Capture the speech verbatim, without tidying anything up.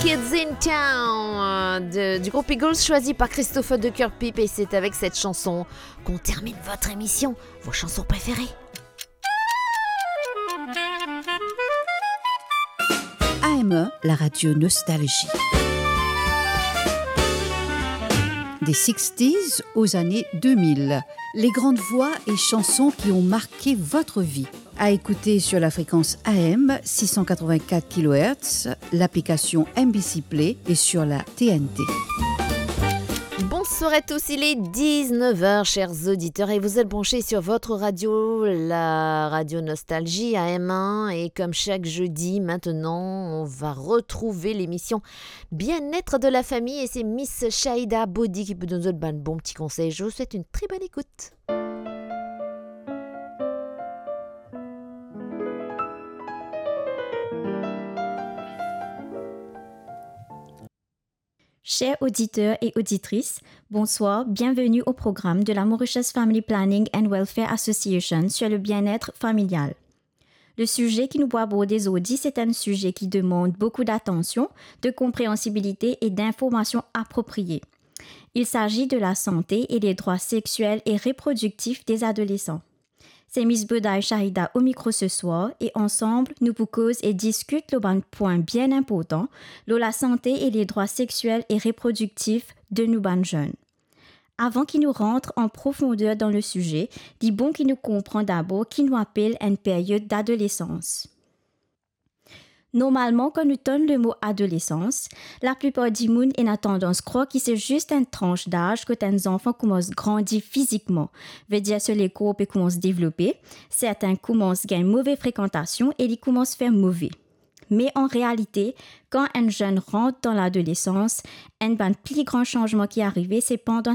Kids in Town, euh, de, du groupe Eagles, choisi par Christopher de Kerpip, et c'est avec cette chanson qu'on termine votre émission, vos chansons préférées. A M un, la radio Nostalgie. Des sixties aux années deux mille. Les grandes voix et chansons qui ont marqué votre vie. À écouter sur la fréquence A M six cent quatre-vingt-quatre kilohertz, l'application M B C Play et sur la T N T. Bonsoir à tous, il est dix-neuf heures, chers auditeurs, et vous êtes branchés sur votre radio, la radio Nostalgie A M un, et comme chaque jeudi maintenant, on va retrouver l'émission Bien-être de la famille, et c'est Miss Shahida Body qui peut nous donner de bons petits conseils. Je vous souhaite une très bonne écoute. Chers auditeurs et auditrices, bonsoir, bienvenue au programme de la Mauritius Family Planning and Welfare Association sur le bien-être familial. Le sujet ki nou pou aborde zordi, c'est un sujet qui demande beaucoup d'attention, de compréhensibilité et d'informations appropriées. Il s'agit de la santé et les droits sexuels et reproductifs des adolescents. Se Miss Body Shahida au micro ce soir, e ansanm nou pou koz e diskit lor bann pwin bien inportan lor lasante e ledrwa sexiel e reprodiktif de nou bann zenn. Avan ki nou rant an profonder dan le size, li bon ki nou konpran dabor ki nou apel enn peryod adolesans. Normalman, kan nou tann lemo adolesans, laplipar dimoun ena tandans krwar ki se zis enn trans daz kot enn zanfan koumans grandi fizikman, vedir so lekor pe koumans devlope, sertin koumans gagn move frekantasion e li koumans fer move. Me an realite, kan enn zenn rant dan ladolesans, enn bann pli gran sanzman ki arive, se pandan